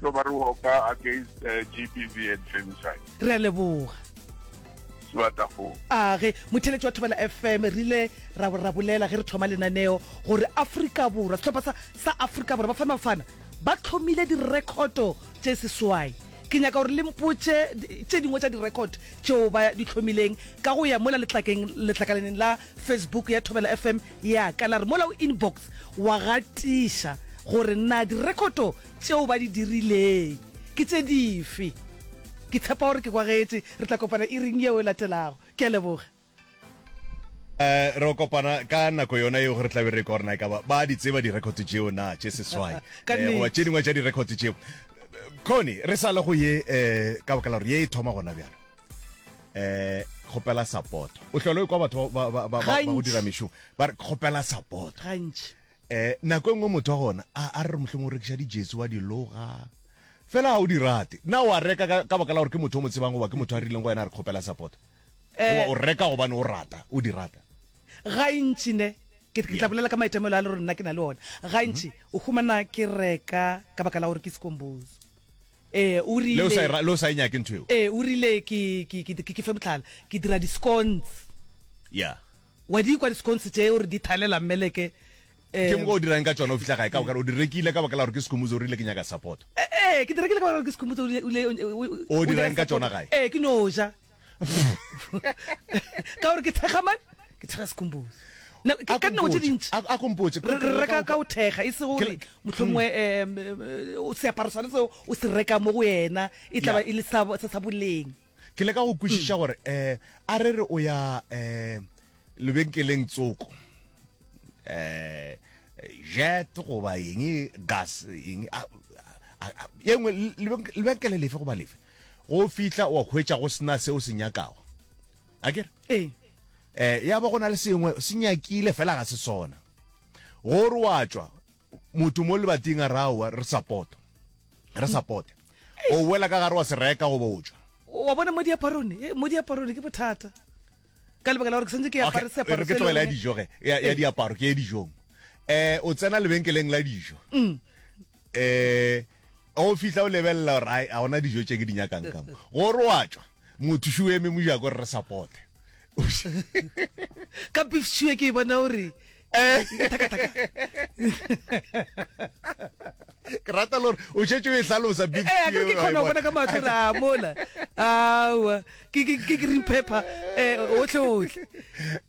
tlo ba re hoka against uh, GBV and femicide. Re a leboga. Sebatafong. A ge motheletši wa Thobela FM re ile ra ra bolela ge re thoma lenaneo gore Afrika Borwa sehlopha sa sa Afrika Borwa Bafana Bafana ba hlomile direkhoto tše seswai. Ke nyaka gore le mpotše tše dingwe tša direkhoto tšeo ba di hlomileng ka go ya mola letlakeng letlakalaneng la Facebook ya Thobela FM ya ka la re mola o inbox wa gatiša gore na direkhoto tšeo ba di dirileng ke tše dife. Ke tshepa gore ke kwagetše. Re tla kopana iring yeo e latelago. Ke a leboga. Eh, re kopana ka nako yona yeo gore tlabe re kwa gore na e ka ba ba di tseba direkhoto tšeo na tše seswai Ka eh, goba nnete. tše dingwe tša direkhoto tšeo. Connie, re sa le go ye eh, ka baka la gore ye e thoma gona bjalo. Eh, kgopela support. O hlole o kwa batho ba ba ba ba, ba go dira Gantši. mešomo ba re kgopela support. Gantši. Eh, nako e nngwe motho wa gona a a re mohlomong o rekiša dijesi wa di loga fela ga o di rate. Na wa reka ka, ka baka la gore ke motho o mo tsebang goba ke motho a rileng go wena a re kgopela support? Goba Eh, o reka gobane o rata, o di rata? Gantši ne, ke, ke tla Yeah. bolela ka maitemogelo a le gore nna ke na le ona. Gantši o humana ke reka ka baka la gore ke Skombozo. Ee, o Le o sa e rile, ra, le o sa e nyake ntho eo? ee, o rile ke, ke, ke, ke, ke fe mohlala, ke dira di-scones. Yeah. Wa di kwa di-scones tše gore di thalela mmeleke, Ke um moka o dirang ka tšona o fihla gae ka baka o di rekile ka baka la gore ke Skhumbuzo o rile ke nyaka support. Ee, ke di rekile ka baka la gore ke Skhumbuzo o rile, o rile, o, O o nyaka dirang ka support. tšona gae? Ee, ke no ja. Ka gore ke thekga mang? Ke thekga Skhumbuzo. Na, A ka ko dinako tše mpotše, dintši a, a ko mpotše, re ke re reka reka ka go thekga, e se ke gore mohlomongwe um seaparo sona seo o se reka mo go yena e tla ba Yeah. e le sa, sa, sa boleng. Ke leka go kwešiša gore um a re re o ya um lebenkeleng tsoko um jet goba eng gas eng a- a- a- ye nngwe lebenk- lebenkele lefe goba lefe go fihla wa hwetša go sena se o se nyakago a kere Ee. um ya ba go na le sengwe se nyakile fela ga se sona gore wa tšwa motho mo lebating a re aowa re support re support o boela ka gare wa se reka goba o tšwa Wa bona mo diaparong, eh, mo diaparong ke bothata. Ka lebaka la gore ke santse ke Okay, apare seaparo re ke se e le tlogela ya gore- dijo ge ya, ya diaparo ke ye dijong eh o tsena lebenkeleng la dijo Mm. eh o fihla o lebelela gore ai a gona dijo tše ke di nyakang ka mo gore wa tšwa motho šo eme mojako re re supporte Ka beef stew ke e bona gore Eh. thaka-thaka. ke rata le gore o šetše o e hlalosa beef Eh, akere ke stew, kgona go wa e bona ka mahlo gore a mola aowa ke ke- ke green pepper um otlhe otlhe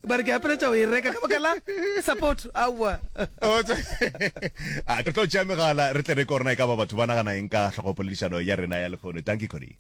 ba re ke apeletša go e reka ka baka la support aowa O tse- a re tlo tšea megala re tle re korona e ka ba batho ba nagana eng ka hlogopoledišano ya rena ya lehono thank you Connie.